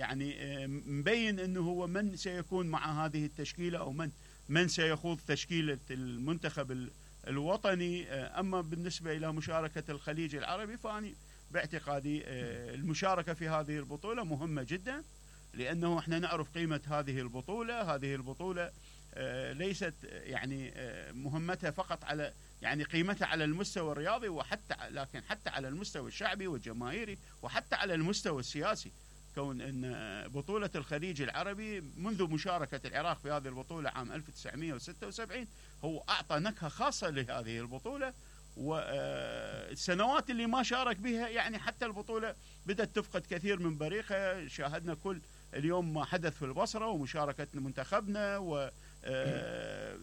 يعني مبين أنه هو من سيكون مع هذه التشكيلة أو من سيخوض تشكيلة المنتخب الوطني. أما بالنسبة إلى مشاركة الخليج العربي فأني باعتقادي المشاركة في هذه البطولة مهمة جدا، لأنه احنا نعرف قيمة هذه البطولة ليست يعني مهمتها فقط على يعني قيمتها على المستوى الرياضي لكن حتى على المستوى الشعبي والجماهيري وحتى على المستوى السياسي، كون أن بطولة الخليج العربي منذ مشاركة العراق في هذه البطولة عام 1976 هو أعطى نكهة خاصة لهذه البطولة، والسنوات اللي ما شارك بها يعني حتى البطولة بدأت تفقد كثير من بريقها. شاهدنا كل اليوم ما حدث في البصرة ومشاركة منتخبنا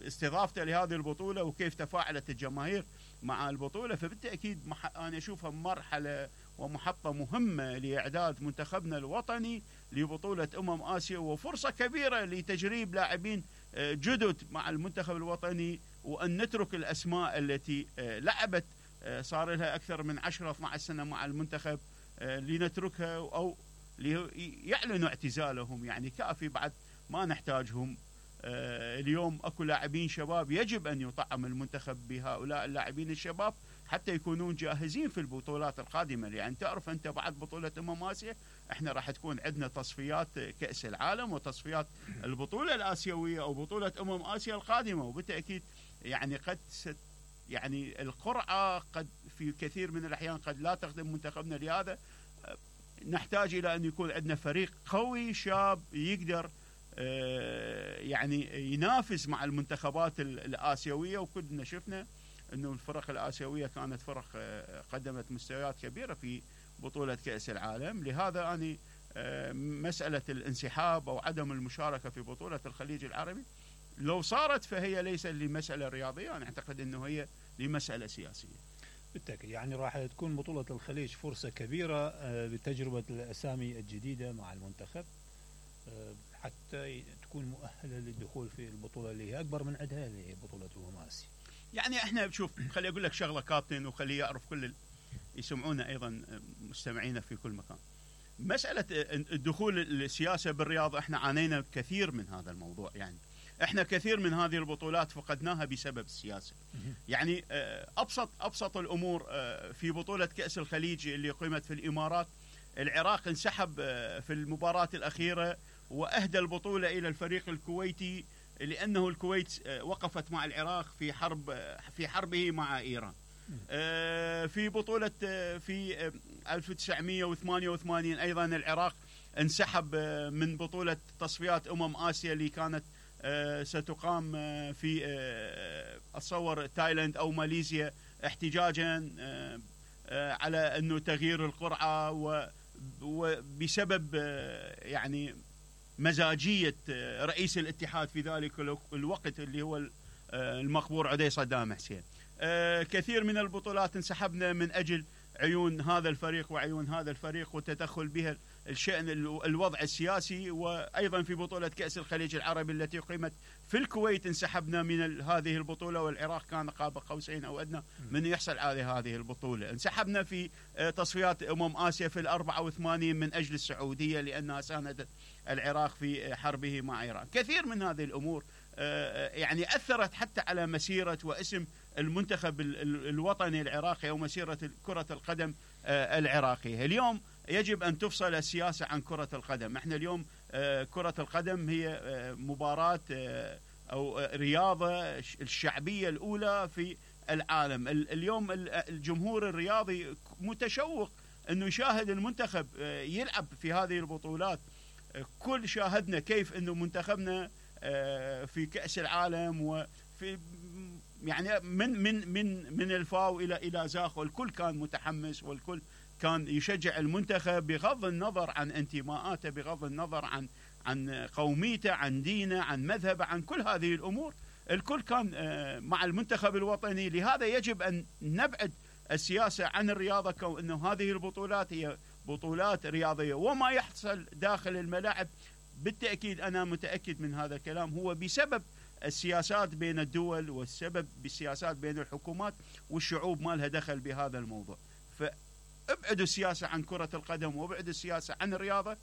واستضافته لهذه البطولة وكيف تفاعلت الجماهير مع البطولة. فبالتأكيد أنا أشوفها مرحلة ومحطة مهمة لإعداد منتخبنا الوطني لبطولة آسيا، وفرصة كبيرة لتجريب لاعبين جدد مع المنتخب الوطني، وأن نترك الأسماء التي لعبت صار لها أكثر من 10-12 سنة مع المنتخب لنتركها أو ليعلنوا اعتزالهم، يعني كافي بعد ما نحتاجهم. اليوم أكو لاعبين شباب يجب أن يطعم المنتخب بهؤلاء اللاعبين الشباب حتى يكونون جاهزين في البطولات القادمة. يعني تعرف أنت بعد بطولة آسيا احنا راح تكون عندنا تصفيات كأس العالم وتصفيات البطولة الآسيوية أو بطولة آسيا القادمة، وبالتأكيد يعني يعني القرعة قد في كثير من الأحيان قد لا تخدم منتخبنا. لهذا نحتاج إلى أن يكون عندنا فريق قوي شاب يقدر يعني ينافس مع المنتخبات الآسيوية، وكلنا شفنا أنه الفرق الآسيوية كانت فرق قدمت مستويات كبيرة في بطولة كأس العالم. لهذا أنا مسألة الانسحاب أو عدم المشاركة في بطولة الخليج العربي لو صارت فهي ليس لمسألة رياضية، أنا أعتقد أنه هي لمسألة سياسية. بالتأكيد يعني راح تكون بطولة الخليج فرصة كبيرة لتجربة الأسامي الجديدة مع المنتخب حتى تكون مؤهلة للدخول في البطولة اللي هي أكبر من عدها اللي هي بطولة آسيا. يعني احنا شوف خلي أقول لك شغلة كابتن وخلي يعرف كل يسمعونا أيضا مستمعينا في كل مكان. مسألة الدخول السياسة بالرياضة احنا عانينا كثير من هذا الموضوع، يعني احنا كثير من هذه البطولات فقدناها بسبب السياسة. يعني أبسط الأمور في بطولة كأس الخليج اللي قيمت في الإمارات، العراق انسحب في المباراة الأخيرة وأهدى البطولة إلى الفريق الكويتي لأنه الكويت وقفت مع العراق في حربه مع إيران. في بطولة في 1988 أيضا العراق انسحب من بطولة تصفيات آسيا اللي كانت ستقام في أتصور تايلاند أو ماليزيا احتجاجا على أنه تغيير القرعة وبسبب يعني مزاجية رئيس الاتحاد في ذلك الوقت اللي هو المقبور عدي صدام حسين. كثير من البطولات انسحبنا من أجل عيون هذا الفريق وعيون هذا الفريق وتدخل بها الشأن الوضع السياسي. وأيضا في بطولة كأس الخليج العربي التي قيمت في الكويت انسحبنا من هذه البطولة، والعراق كان قاب قوسين أو أدنى من يحصل على هذه البطولة. انسحبنا في تصفيات آسيا في 84 من أجل السعودية لأنها ساندت العراق في حربه مع إيران. كثير من هذه الأمور يعني أثرت حتى على مسيرة واسم المنتخب الوطني العراقي أو مسيرة كرة القدم العراقية. اليوم يجب أن تفصل السياسة عن كرة القدم. احنا اليوم كرة القدم هي مباراة أو رياضة الشعبية الأولى في العالم. اليوم الجمهور الرياضي متشوق أنه يشاهد المنتخب يلعب في هذه البطولات. كل شاهدنا كيف أنه منتخبنا في كأس العالم وفي يعني من الفاو إلى زاخ، والكل كان متحمس والكل كان يشجع المنتخب بغض النظر عن انتماءاته، بغض النظر عن قوميته، عن دينه، عن مذهبه، عن كل هذه الأمور. الكل كان مع المنتخب الوطني. لهذا يجب أن نبعد السياسة عن الرياضة، كأنه هذه البطولات هي بطولات رياضية. وما يحصل داخل الملاعب بالتأكيد أنا متأكد من هذا الكلام هو بسبب السياسات بين الدول والسبب بالسياسات بين الحكومات والشعوب ما لها دخل بهذا الموضوع. فابعدوا السياسة عن كرة القدم وابعدوا السياسة عن الرياضة